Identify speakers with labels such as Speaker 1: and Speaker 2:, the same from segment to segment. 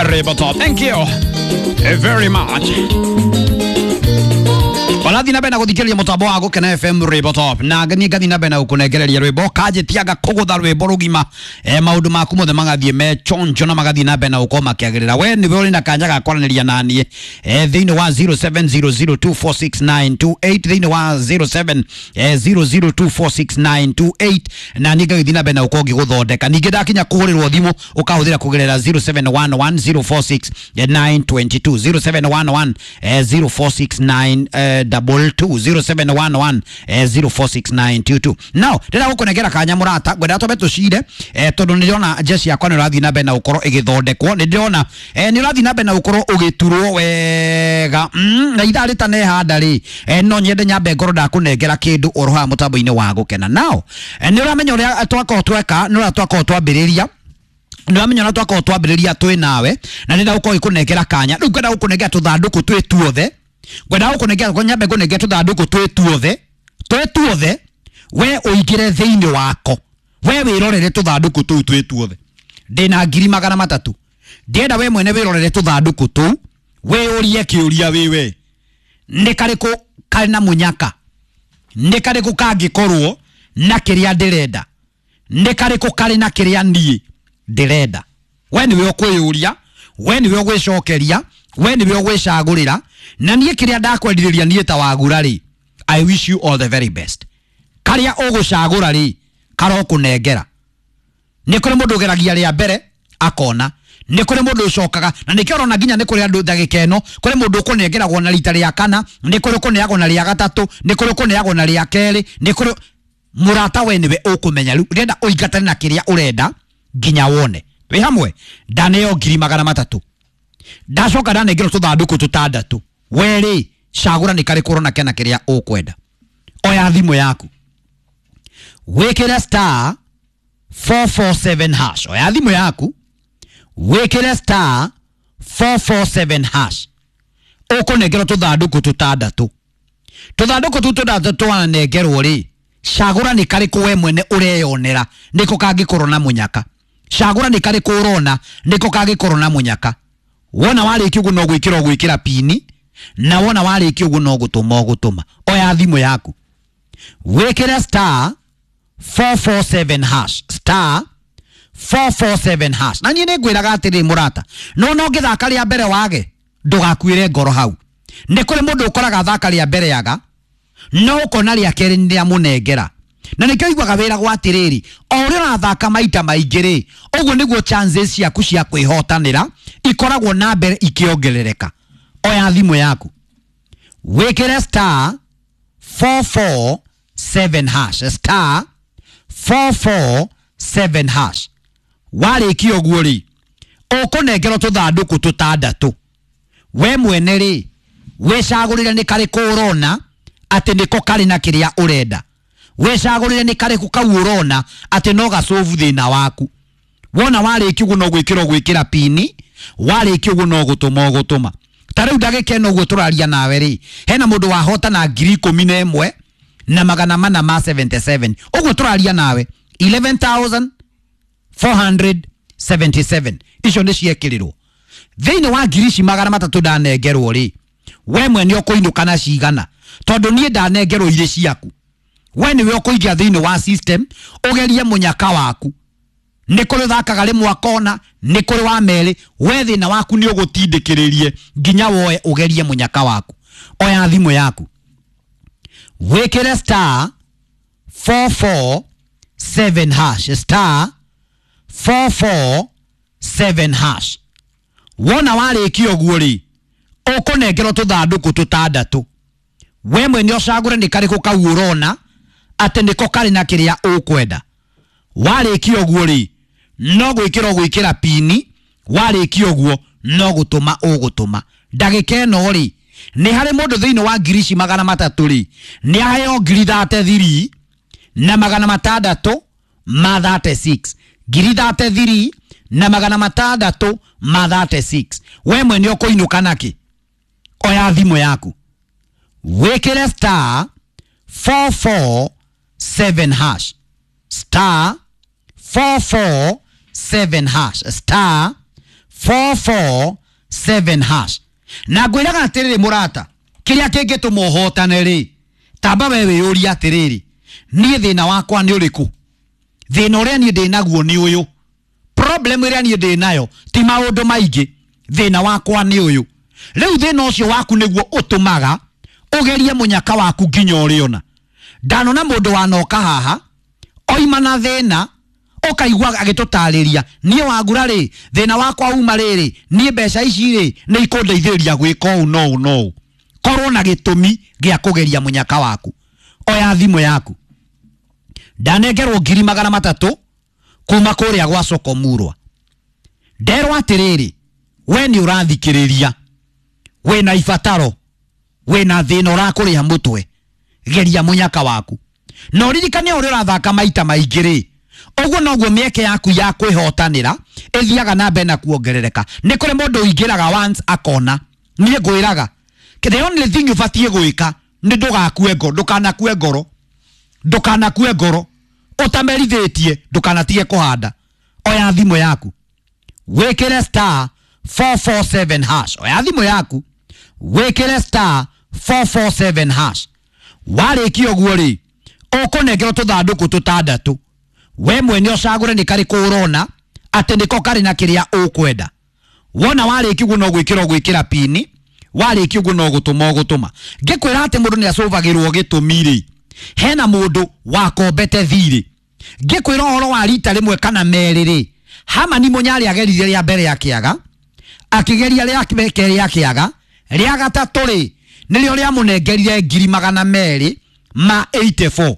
Speaker 1: Ribotop. Thank you very much. Walathi na bena guthikiriria mutambo wa Gukena FM Ribotop na ngani ngathi na bena gukunengereria rwimbo kanjitianga kugutha rwimbo rugima maundu maku mothe magathie me chonjo na magathie na bena gukorwo makiagirira. We niwe uri na kanya ga kwaraniria nanie thiini wa 0700246928 thiini wa 0700246928 na ni ngagithie na bena gukorwo ngiguthondeka. Ningi ndakinya kuhurirwo thimu ukahuthira kugerera 0711046922 0711 0469 22 0711 046922. Now ndĩrenda gũkũnengera kanya mũrata, ngwenda twambe tũcire tondũ nĩndĩrona jeshi yakwa nĩ ũrathiĩ na mbere na gũkorwo ĩgĩthondekwo. Nĩndĩrona nĩ ũrathiĩ na mbere na gũkorwo ũgĩturwo wega na ithaa rĩtanehanda rĩ no nyende nyambe ngorwo ndakũnengera kĩndũ oro haha mũtambo-inĩ wa Gũkena. Now nĩ ũramenya ũrĩa twakorwo tweka, nĩ ũrĩa twakorwo twambĩrĩria, nĩwamenya ũrĩa twakorwo twambĩrĩria twĩ nawe, na ndĩrenda gũkorwo ĩkũnengera kanya. Rĩu ngwenda gũkũnengera tũthandũkũ twĩ tuothe, ngwenda gũkũnengera nyambe ngũnengere tũthandũkũ twĩ tuothe, twĩ tuothe, we ũingĩre thĩinĩ wako, we wĩrorere tũthandũkũ tũu twĩ tuothe. Ndĩna 300,000, ndĩrenda we mwene wĩrorere tũthandũkũ tũu, wĩyũrie kĩũria wĩwe, nĩ karĩkũ karĩ na mũnyaka, nĩ karĩkũ kangĩkorwo na kĩrĩa ndĩrenda, nĩ karĩkũ karĩ na kĩrĩa niĩ ndĩrenda. We nĩwe ũkwĩyũria, we nĩwe ũgwĩcokeria, we nĩwe ũgwĩcagũrĩra. Na niĩ kĩrĩa ndakwendithĩria niĩ ta wagura rĩ, I wish you all the very best. Karĩa ũgũcagũra rĩ, karokũnengera. Nĩ kũrĩ mũndũ ũgeragia rĩa mbere akona, nĩ kũrĩ mũndũ ũcokaga, na nĩkĩo ũrona nginya nĩ kũrĩ andũ ndagĩka ĩno, kũrĩ mũndũ ũkũnengeragwo na rita rĩa kana, nĩ kũrĩ ũkũneagwo na rĩa gatatũ, nĩ kũrĩ ũkũneagwo na rĩa kerĩ, nĩ kũrĩ mũrata. We nĩwe ũkũmenya. Rĩu ndĩrenda ũingatane na kĩrĩa ũrenda nginya wone. Twĩ hamwe. Ndaneo 300,000, ndacoka ndanengerwo tũthandũkũ tũtandatũ. We rĩ, cagũra nĩ karĩkũ ũrona kena kĩrĩa ũkwenda. Oya thimũ yaku wĩkĩre star 447 hash. Oya thimũ yaku wĩkĩre star 447 hash, ũkũnengerwo tũthandũkũ tũtandatũ. Tũthandũkũ tũu tũtandatũ wanengerwo rĩ, cagũra nĩ karĩkũ we mwene ũreyonera nĩko kangĩkorwo na mũnyaka. Cagũra nĩ karĩkũ ũrona nĩko kangĩkorwo na mũnyaka. Wona warĩkia ũguo no gwĩkĩra ũgwĩkĩra pini, na wona warĩkia ũguo no gũtũma ũgũtũma. Oya thimũ yaku wĩkĩre star 447 hash, star 447 hash. Na niĩ nĩngwĩraga atĩrĩ mũrata, no no ngĩthaka rĩa mbere wage, ndũgakuĩre ngoro hau. Nĩ kũrĩ mũndũ ũkoraga thaka rĩa mbere yaga, no ũkona rĩa kerĩ nĩ rĩamũnengera. Na nĩkĩo iguaga wĩragwo atĩrĩrĩ, o ũrĩa ũrathaka maita maingĩ rĩ, ũguo nĩguo chances ciaku cia kwĩhotanĩra ikoragwo na mbere ikĩongerereka. Oya thimũ yaku wĩkĩre star 447 hash, star 447 hash. Warĩkia ũguo rĩ, ũkũnengerwo tũthandũkũ tũtandatũ. We mwene rĩ, wĩcagũrĩre nĩ karĩkũ ũrona atĩ nĩko karĩ na kĩrĩa ũrenda. Wĩcagũrĩre nĩ karĩkũ kau ũrona atĩ no gacobu thĩna waku. Wona warĩkia ũguo no gwĩkĩra ũgwĩkĩra pini, warĩkia ũguo no gũtũma ũgũtũma. Ta rĩu ndagĩka ĩno ũguo tũraria nawe rĩ, hena mũndũ wahota na 11,477. Ũguo tũraria nawe 11,477 icio nĩ ciekĩrĩrwo thĩinĩ wa 300,000 ndanengerwo rĩ. We mwene ũkũinũka na cigana? Tondũ niĩ ndanengerwo irĩ ciaku, we nĩwe ũkũingĩra thĩinĩ wa system ũgerie mũnyaka waku. Nĩ kũrĩ ũthakaga rĩmwe akona, nĩ kũrĩ wa merĩ. We thĩna waku nĩ ũgũtindĩkĩrĩrie nginya woe ũgerie mũnyaka waku. Oya thimũ yaku wĩkĩre star 447 hash, star 447 hash. Wona warĩkia ũguo rĩ, ũkũnengerwo tũthandũkũ tũtandatũ. We mwene ũcagũre nĩ karĩkũ kau ũrona atĩ nĩko karĩ na kĩrĩa ũkwenda. Warĩkia ũguo rĩ, no gwĩkĩra ũgwĩkĩra pini, warĩkia ũguo no gũtũma ũgũtũma. Ndagĩka ĩno rĩ, nĩ harĩ mũndũ thĩinĩ wa 300,000 rĩ, nĩ aheo 33,636, 33,636. We mwene ũkũinũka nakĩ? Oya thimũ yaku wĩkĩre star 447 hash, star 447 hash, star 447 hash. Na ngwĩraga atĩrĩrĩ mũrata, kĩrĩa kĩngĩtũma ũhotane rĩ, tamba we wĩyũrie atĩrĩrĩ, niĩ thĩna wakwa nĩ ũrĩkũ? Thĩna ũrĩa niĩ ndĩ naguo nĩ ũyũ. Problem ĩrĩa niĩ ndĩ nayo ti maũndũ maingĩ, thĩna wakwa nĩ ũyũ. Rĩu thĩna ũcio waku nĩguo ũtũmaga ũgerie mũnyaka waku nginya ũrĩona. Ndanona mũndũ wanoka haha oima na thĩna, ũkaigua agĩtũtarĩria, niĩ wangura rĩ, thĩna wakwa uma rĩrĩ, niĩ mbeca ici rĩ nĩ ikũndeithĩrĩria gwĩka ũũ no ũũ no ũũ. Korwo na gĩtũmi gĩa kũgeria mũnyaka waku. Oya thimũ yaku. Ndanengerwo 300,000 kuma kũrĩa gwa Soko Murwa. Nderwo atĩrĩrĩ, we nĩ ũrathikĩrĩria, wĩna ibataro, wĩna thĩna ũrakũrĩa mũtwe, geria mũnyaka waku. Na ũririkane ũrĩa ũrathaka maita maingĩ rĩ, ũguo noguo mĩeke yaku ya kwĩhotanĩra ĩthiaga na mbere na kuongerereka. Nĩ kũrĩ mũndũ ũingĩraga once akona. Niĩ ngwĩraga, the only thing ũbatiĩ gwĩka nĩ ndũgakue ngoro, ndũkanakue ngoro, ndũkanakue ngoro ũtamerithĩtie, ndũkanatige kũhanda. Oya thimũ yaku wĩkĩre star 447 hash. Oya thimũ yaku wĩkĩre star 447 hash. Warĩkia ũguo rĩ, ũkũnengerwo tũthandũkũ tũtandatũ. We mwene ũcagũre nĩ karĩkũ ũrona atĩ nĩko karĩ na kĩrĩa ũkwenda. Wona warĩkia ũguo no gwĩkĩra ũgwĩkĩra pini, warĩkia ũguo no gũtũma ũgũtũma. Ngĩkwĩra atĩ mũndũ nĩ acũvagĩrwo gĩtũmi rĩ, hena mũndũ wakombete thirĩ. Ngĩkwĩra ũhoro wa rita rĩmwe kana merĩ rĩ, Hamani Mũnyarĩ ageririe rĩa mbere akĩaga, akĩgeria rĩa kerĩ akĩaga, rĩa gatatũ rĩ nĩrĩo rĩamũnengerire 284,000.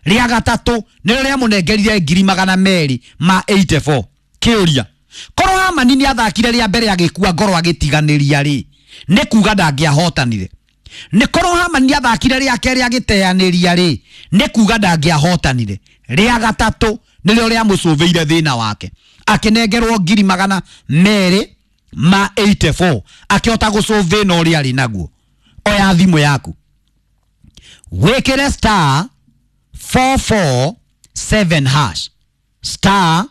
Speaker 1: Rĩa gatatũ nĩrĩo rĩamũnengerire 284,000. Kĩũria, korwo Hamani nĩathakire rĩa mbere agĩkua ngoro agĩtiganĩria rĩ, nĩ kuga ndangĩahotanire. Nĩ korwo Hamani nĩathakire rĩa kerĩ agĩteanĩria rĩ, nĩ kuga ndangĩahotanire. Rĩa gatatũ nĩrĩo rĩamũcũvĩire thĩna wake, akĩnengerwo 284,000, akĩhota gũcũvĩna ũrĩa arĩ naguo. Oya thimũ yaku wĩkĩre star 447 hash, star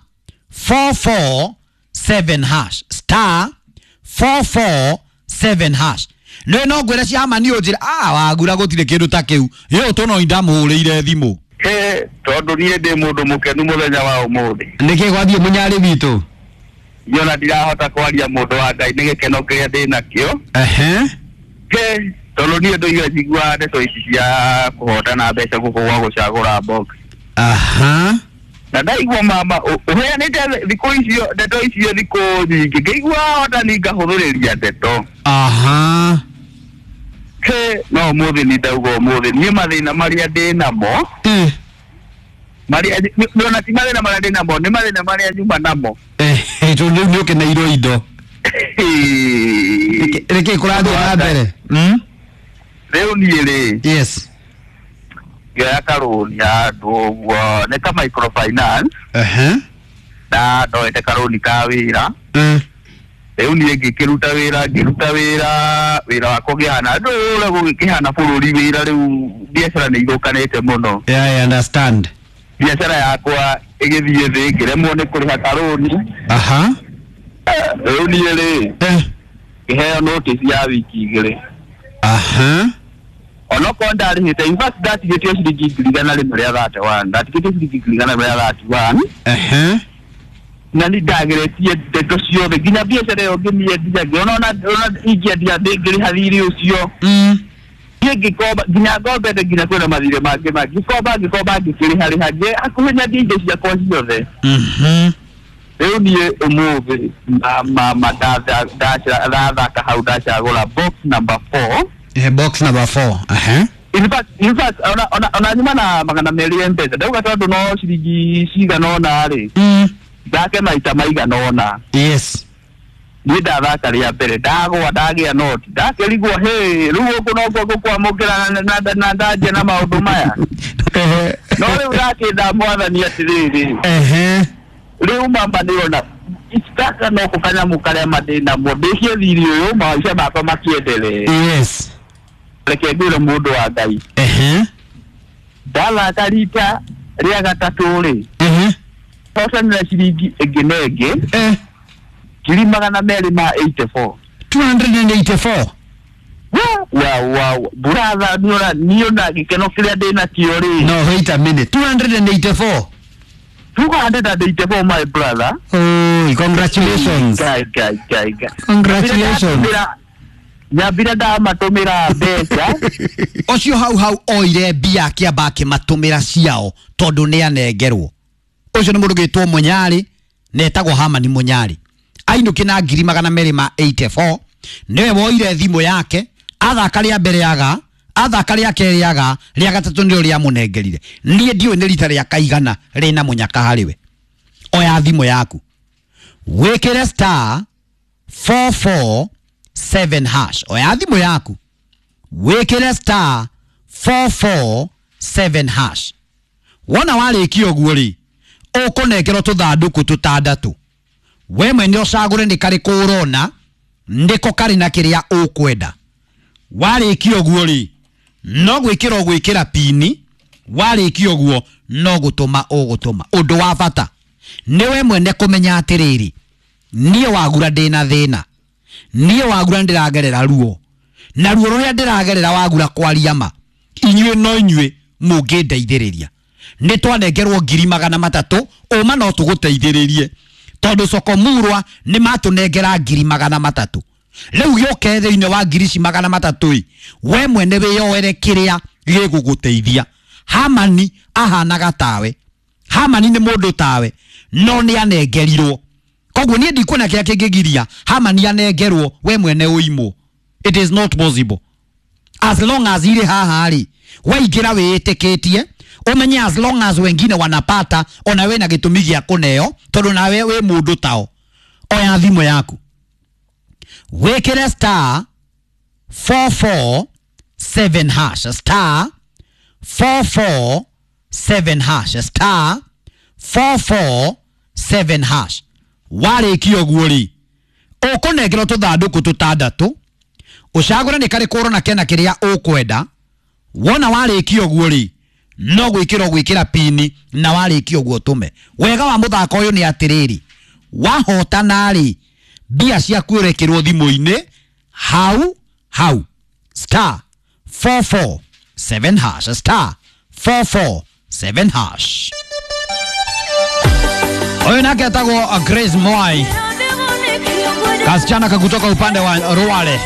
Speaker 1: 447 hash, star 447 hash. Nĩ no ngwĩre cia Hamani ũnjĩre, wagura gũtirĩ kĩndũ ta kĩu, yũ tũno ndamũhũrĩire thimũ.
Speaker 2: Tondũ niĩ ndĩ mũndũ mũkenu mũthenya wa ũmũthĩ.
Speaker 1: Nĩkĩ gwathiĩ mũnyarĩ witũ?
Speaker 2: Niĩ ndirahota kwaria mũndũ wa Ngai nĩ gĩkeno kĩrĩa ndĩ nakĩo. Tondũ niĩ ndũire njiguaga ndeto ici cia kũhotana mbeca gũkũ gwa gũcagũra box. Na ndaigua mama ũheanĩte thikũ icio ndeto icio thikũ nyingĩ, ngĩigua hotani ngahũthĩrĩria ndeto. No ũmũthĩ nĩ ndauga ũmũthĩ niĩ mathĩna marĩa ndĩ namo, marĩa ona ti mathĩna marĩa ndĩ namo, nĩ mathĩna marĩa nyuma namo.
Speaker 1: Tondũ rĩu nĩ ũkeneirwo indo. Nĩkĩ kũrathiĩ na mbere?
Speaker 2: Rĩu niĩ rĩ,
Speaker 1: yes,
Speaker 2: ngĩoya karũni handũ ũguo, nĩ ka microfinance. Na ndoete karũni ka wĩra. Rĩu niĩ ngĩkĩruta wĩra, ngĩruta wĩra, wĩra wakwa ũkĩhana ndũra gũgĩkĩhana bũrũri wĩra rĩu biacara nĩ ithũkanĩte mũno.
Speaker 1: Yeah, I understand.
Speaker 2: Biacara yakwa ĩgĩthiĩ thĩ, ngĩremwo nĩ kũrĩha karũni. Rĩu niĩ rĩ, ngĩheo notice ya wiki igĩrĩ. Onokorwo ndarĩhĩte, in fact ndatigĩtio ciringi 131,000, ndatigĩtio ciringi 131,000. Na nĩ ndageretie ndeto ciothe nginya biacara ĩyo ngĩmĩendia, ngĩona ona ingĩendia ndĩngĩrĩha thirĩ ũcio. Niĩ ngĩkomba nginya ngombete nginya kwĩna mathirĩ mangĩ mangĩ, ngĩkomba ngĩkomba ngĩkĩrĩha rĩha, hakuhĩ nyendie indo ciakwa ciothe. Rĩu niĩ ũmũthĩ mama ndathaka hau ndacagũra box number 4.
Speaker 1: Box number 4.
Speaker 2: In fact, ona nyuma na 200 M-Pesa ndauga tondũ no ciringi cigana ũna rĩ, thake maita maigana ũna.
Speaker 1: Yes.
Speaker 2: Niĩ ndathaka rĩa mbere ndagwa ndagĩa noti, ndakĩrigwo hĩ rĩu gũkũ nokuo ngũkwamũkĩra na ndanjia na maũndũ maya. No rĩu ndakĩnda mwathani atĩrĩrĩ, rĩu mama nĩona gaka no kanyamũ karĩa mandĩ namo ndĩkie thirĩ ũyũ maica makwa makĩendelee.
Speaker 1: Yes.
Speaker 2: Reke ngwĩre mũndũ wa Ngai, ndathaka rita rĩa gatatũ rĩ, hotanĩra ciringi ĩngĩ na ĩngĩ. 284,000.
Speaker 1: 284.
Speaker 2: Wa brother, niona gĩkeno kĩrĩa ndĩnakĩo rĩ.
Speaker 1: No, wait a minute, 284.
Speaker 2: 284, my brother.
Speaker 1: Oh, congratulations.
Speaker 2: Kai, kai, kai, kai.
Speaker 1: Congratulations.
Speaker 2: Nyambire ndamatũmĩra mbeca.
Speaker 1: Ũcio hau hau oire mbia akĩamba akĩmatũmĩra ciao tondũ nĩ anengerwo. Ũcio nĩ mũndũ gĩtwo Mũnyarĩ na etagwo Hamani Mũnyarĩ, ainũki na 284,000. Nĩwe woire thimũ yake athaka rĩa mbere aga, athaka rĩa kerĩ aga, rĩa gatatũ nĩrĩo rĩamũnengerire. Niĩ ndiũĩ nĩ rita rĩa kaigana rĩna mũnyaka harĩ we. Oya thimũ yaku, wĩkĩre *447#. Oya thimũ yaku, wĩkĩre *447#. Wona warĩkia ũguo rĩ, ũkũnengerwo tũthandũkũ tũtandatũ. We mwene ũcagũre nĩ karĩkũ ũrona nĩko karĩ na kĩrĩa ũkwenda. Warĩkia ũguo rĩ, no gwĩkĩra ũgwĩkĩra pini. Warĩkia ũguo, no gũtũma ũgũtũma. Ũndũ wa bata nĩ we mwene kũmenya atĩrĩrĩ, niĩ wagura ndĩna thĩna, niĩ wagura ndĩragerera ruo, na ruo rũrĩa ndĩragerera wagura kwaria ma, inyuĩ no inyuĩ mũngĩndeithĩrĩria. Nĩ twanengerwo 300,000, ũma no tũgũteithĩrĩrie tondũ soko murwa nĩ matũnengera 300,000. Rĩu gĩũke thĩinĩ wa ngiri ici 300 ĩ, we mwene wĩyoere kĩrĩa gĩgũgũteithia. Hamani ahanaga tawe, Hamani nĩ mũndũ tawe, no nĩ anengerirwo. Koguo niĩ ndikuona kĩrĩa kĩngĩgiria Hamani anengerwo, we mwene ũimwo. It is not possible. As long as irĩ haha rĩ, waingĩra wĩĩtĩkĩtie, ũmenye as long as wengine wanapata, ona we na gĩtũmi gĩa kũneo tondũ nawe wĩ mũndũ tao. Oya thimũ yaku, wĩkĩre *447#, *447#, *447#. Warĩkia ũguo rĩ, ũkũnengerwo tũthandũkũ tũtandatũ, ũcagũre nĩ karĩkũ ũrona kena kĩrĩa ũkwenda. Wona warĩkia ũguo rĩ, no gwĩkĩra ũgwĩkĩra pini, na warĩkia ũguo ũtũme. Wega wa mũthako ũyũ nĩ atĩrĩrĩ, wahotana rĩ, mbia ciaku ũrekĩrwo thimũ-inĩ hau hau. *447#, *447#. Huyu nake atagwo Grace Mwai, kasichana kakutoka upande wa Rwale.